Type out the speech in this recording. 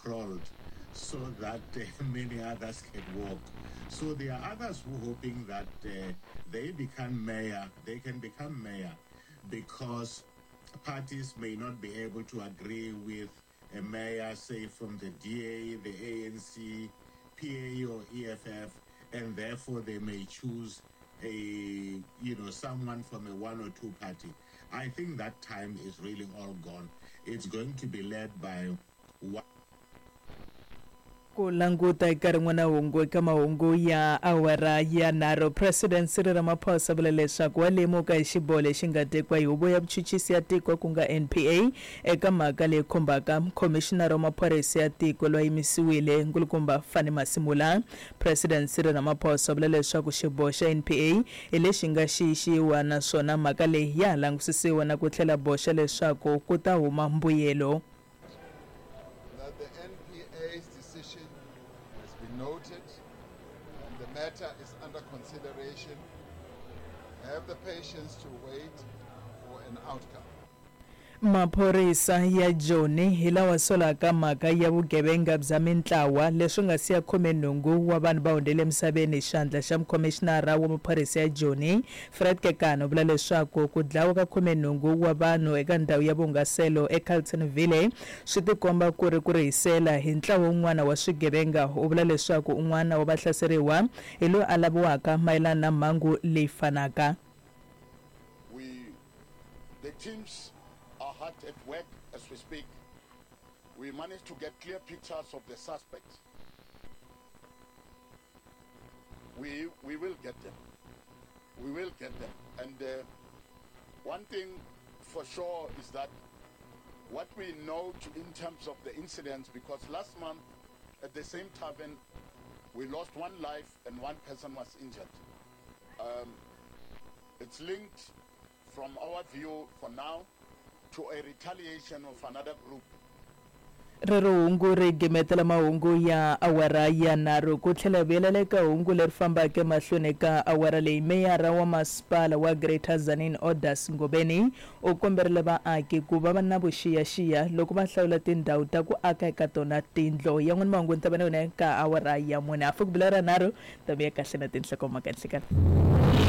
crawled so that many others can walk. So there are others who are hoping that they become mayor, they can become mayor because parties may not be able to agree with a mayor, say from the DA, the ANC, PA or EFF, and therefore they may choose a you know someone from a one or two party. I think that time is really all gone. It's going to be led by one Ku languta eka rin'wana hungu eka mahungu ya awara ya nharhu, President Cyril Ramaphosa vula leswaku wa lemuka hi xiboho lexi nga tekiwa hi Huvo ya Vuchuchisi ya Tiko ku nga NPA eka mhaka leyi khumbaka Khomixinara wa Maphorisa ya Tiko loyi a yimisiwile Nkulukumba Fannie Masemola. President Cyril Ramaphosa vula leswaku xiboho xa NPA hi lexi nga xiyixiwa naswona mhaka leyi ya ha langusisiwa na ku tlhela boxa leswaku ku ta huma mbuyelo. That the NPA's decision has been noted and the matter is under consideration. Have the patience to wait for an outcome. Maphorisa ya Joni hi lawa solaka mhaka ya vugevenga bya mintlawa leswi nga siya 18 wa vanhu va hundzele emisaveni. Xandla xa mukhomixinara wa maphorisa ya Joni, Fred Kekana u vula leswaku ku dlawa ka 18 wa vanhu eka ndhawu ya vuhungaselo eCarltonville swi tikomba ku ri ku rihisela hi ntlawa wun'wana wa swigevenga. U vula leswaku un'wana wa vahlaseriwa hi loyi a laviwaka mayelana na mhangu leyi fanaka. We, the teams are hard at work as we speak. We managed to get clear pictures of the suspects. We, we will get them. We will get them. And one thing for sure is that what we know to, in terms of the incidents, because last month at the same tavern, we lost one life and one person was injured. It's linked, from our view for now, to a retaliation of another group. Rero hungu ri gimetela mahungu ya awara ya nharhu ku tlhela vuyelela eka hungu leri fambaka emahlweni eka awara leyi. Meyara wa masipala wa Greater Tzaneen Odas Ngobeni u komberile vaaki ku va va na vuxiyaxiya loko va hlawula tindhawu ta ku aka eka tona tindlo. Yan'wana mahungu ni ta va na yona eka awara ya mune. Hafu ku bila ra nharhu, ta vuya kahle na tinhlokomhaka nhlikani.